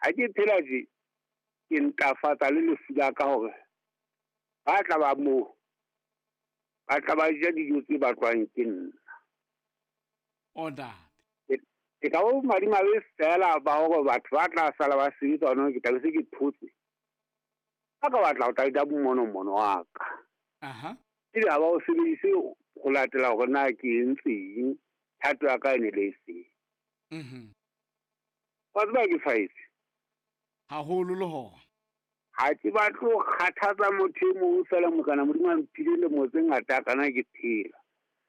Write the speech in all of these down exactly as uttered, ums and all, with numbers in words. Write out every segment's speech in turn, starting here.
Ha ke phela tje, ke ntlafatsa le lefu la ka hore ba tla ba moo, ba tla ba ja dijo tse batlwang ke nna. O ntate. Ke ka bo madimabe fela ba hore batho ba tla sala ba sebetsa hona, ke tla be se ke thotse. Ba ka batla ho tla ja monomono wa ka. Aha. Ebe ha ba o sebedise ho latela hore na ke entseng, thato ya ka e ne le efeng. Mhm. Wa tseba ke faetse. Haholo le hona. Ha ke batle ho kgathatsa motho e mong feela mokana Modimo a mphile lemo tse ngata kana ke phela.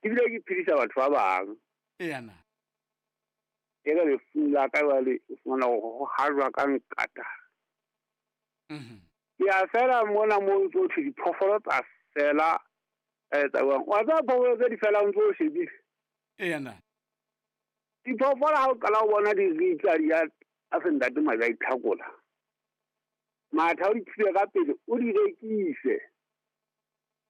Ebile ke phedisa batho ba bang. Eya na. E re lefung la ka jwale o fumana hore ho hajwa ka nkata. Mhm. Ke a fela mona mo ntso thwe diphoofolo tsa fela, eh, tsa jwang. Wa tseba phoofolo tse di felang o ntso o shebile? Eya na. Diphoofolo ha o qala ho bona di ritsa di ya a se ntate maje a itlhakola. Matha o di thibe ka pele, o di rekise.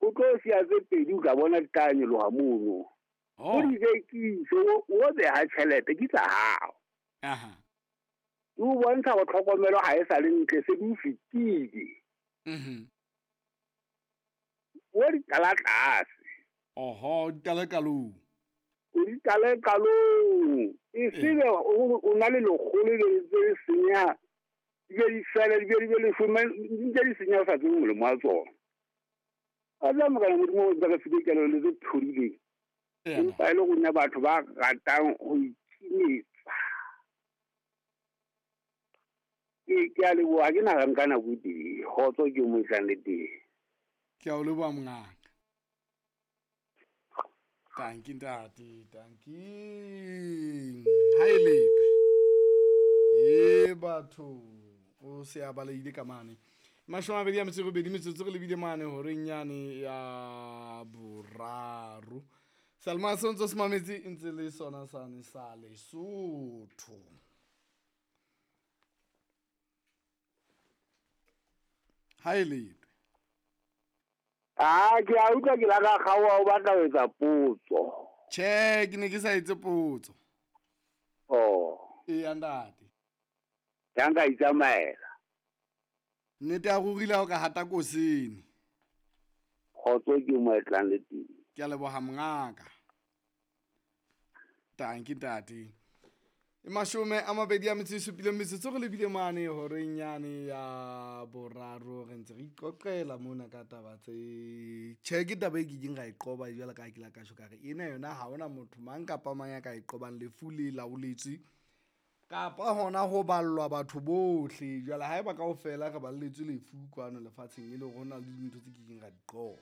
O tlo siya tse pedi o tla bona di tla nyoloha mono. Oh. O di rekise, o, o beha tjhelete ke tsa hao. Aha. O bontsha hore tlhokomelo ha e sa le ntle, se di o fetile. Mhm. O di qala tlase. Oho, di qala qalong. O di qale qalong. E Eh. sebe o, o na le lekgolo le ntse le senya. Di be di fele, di be di be leshome, di ntse di senya o sa tsebe molemo wa tsona. A tla mokana Modimo o ntse re file kelello tse phodileng. Eya. Empa e le rona batho ba ratang ho ikimetsa. Ke, ke a leboha, ha ke na nka nako e telele. Kgotso ke mo tlang le teng. Ke a o leboha mongaka. Tanki ntate, tanki. Ha e lepe. E batho, o se a balehile ka mane. Mashome a mabedi a metso e robedi, metsotso re lebile mane horeng yane ya boraro. Salma se ntse se mametse e ntse le sona sane sa Lesotho. Ha e lepe. Ah, ke a utlwa ke la ka kgaoha o batla ho etsa potso. Tjhe, ke ne ke sa etse potso. Oh. Eya ntate. Ya nka itsamaela. Nnete ya ruri le ha o ka hata kosene. Kgotso ke mo etlang le teng. Ke a leboha mongaka. Tanki ntate. E mashome a mabedi a metso e supileng metsotso re lebile mane horeng yane ya boraro re ntse re iqoqela mona ka taba tse. Tjhe, ke taba e ke keng ra e qoba jwalo ka ha ke la ka tjho ka re ena yona ha hona motho mang kapa mang ya ka e qobang, lefu le laoletswe kapa hona ho ballwa batho bohle. Jwale haeba kaofela re balletswe lefu kwano lefatsheng e le hore hona le dintho tse ke keng ra di qoba.